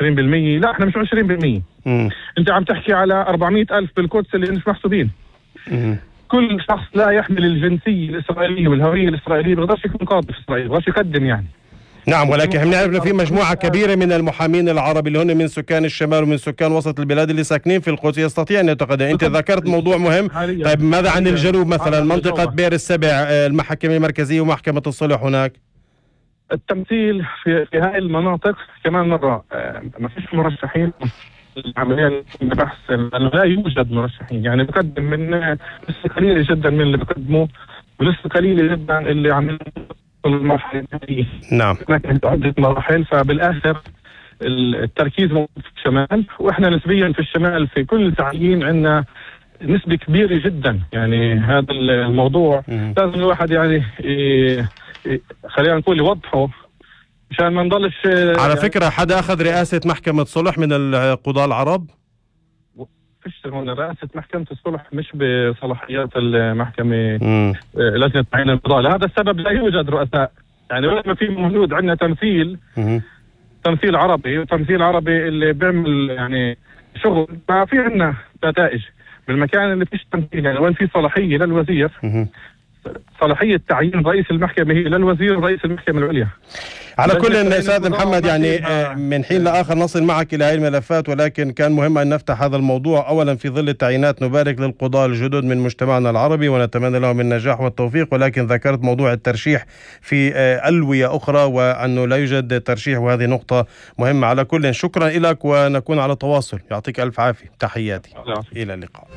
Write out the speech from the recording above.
20%. لا، احنا مش 20%. انت عم تحكي على 400,000 بالقدس اللي مش محسوبين. كل شخص لا يحمل الجنسية الإسرائيلية والهوية الإسرائيلية بيقدرش يكون قاضي في إسرائيل، بيقدرش يقدم يعني. نعم، ولكن احنا نعرف انه في مجموعة كبيرة من المحامين العرب اللي هن من سكان الشمال ومن سكان وسط البلاد اللي ساكنين في القدس يستطيع ان يتقدم. انت ذكرت موضوع مهم. طيب ماذا عن الجنوب مثلا، منطقة بئر السبع، المحكمة المركزية ومحكمة الصلح هناك؟ التمثيل في هاي المناطق كمان مرة ما فيش مرشحين. العملية بحث لا يوجد مرشحين، يعني بقدم من لسه قليلة جدا من اللي بقدموا، ولسه قليلة جدا اللي عم المرحلة الثانية. نعم، كانت عدة مراحل، فبالآخر التركيز موجود في الشمال، وإحنا نسبيا في الشمال في كل تعيين عندنا نسبة كبيرة جدا. يعني هذا الموضوع لازم الواحد يعني خلينا نقول يوضحه مشان ما نضلش. على فكرة حدا أخذ رئاسة محكمة صلح من القضاة العرب؟ فيش هون رئاسة محكمة الصلح مش بصلاحيات المحكمة لجنة تعيين القضاء، لهذا السبب لا يوجد رؤساء. يعني لما في موجود عندنا تمثيل عربي، وتمثيل عربي اللي بيعمل يعني شغل، ففي عندنا نتائج بالمكان اللي فيش تمثيل. يعني وين في صلاحية للوزير، صلاحية تعيين رئيس المحكمة هي للوزير رئيس المحكمة العليا. على كل أستاذ محمد، يعني من حين لآخر نصل معك إلى هذه الملفات، ولكن كان مهم أن نفتح هذا الموضوع. أولا في ظل التعيينات نبارك للقضاة الجدد من مجتمعنا العربي ونتمنى لهم النجاح والتوفيق، ولكن ذكرت موضوع الترشيح في ألوية أخرى وأنه لا يوجد ترشيح، وهذه نقطة مهمة. على كل شكرا لك ونكون على تواصل. يعطيك ألف عافية، تحياتي، إلى اللقاء.